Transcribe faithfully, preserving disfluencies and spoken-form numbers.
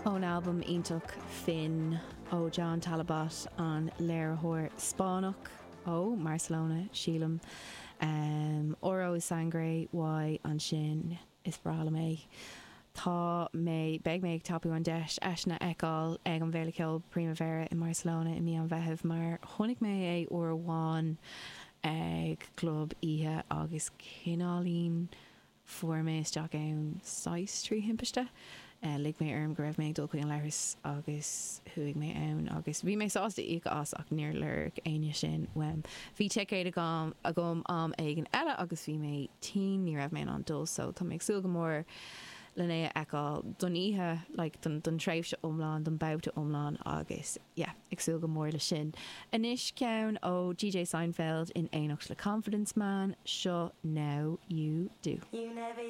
Ón albam iontach Finn ó John Talabot an léiritheoir Spáinneach ó Barcelona sílim. Um, Oro y Sangre uaidh ansin is breá liom é. Tá mé beidh mé ag tapú an deis eisean a fheiceáil ag an bhFéile Ceoil Primavera i Barcelona i mí an Mheithimh mar chonaic mé é uair amháin ag club oíche agus cineáilín fuair mé isteach ann saghas trí thimpiste. Uh, lig mé orm go raibh mé ag dul chuig an leithreas agus chuaigh mé ann agus bhí mé sásta íoc as ach níor lorg éinne sin uaim. Bhí ticéad agam agam am éigin eile agus bhí mé tinn ní raibh mé an dul so tá mé ag súil go mór lena é a fheiceáil don oíche like, don, don tréimhse iomlán don babhta iomlán agus yeah, ag súil go mór le sin. Anois ceann ó DJ Seinfeld in éineacht le Confidence Man seo now you do. You never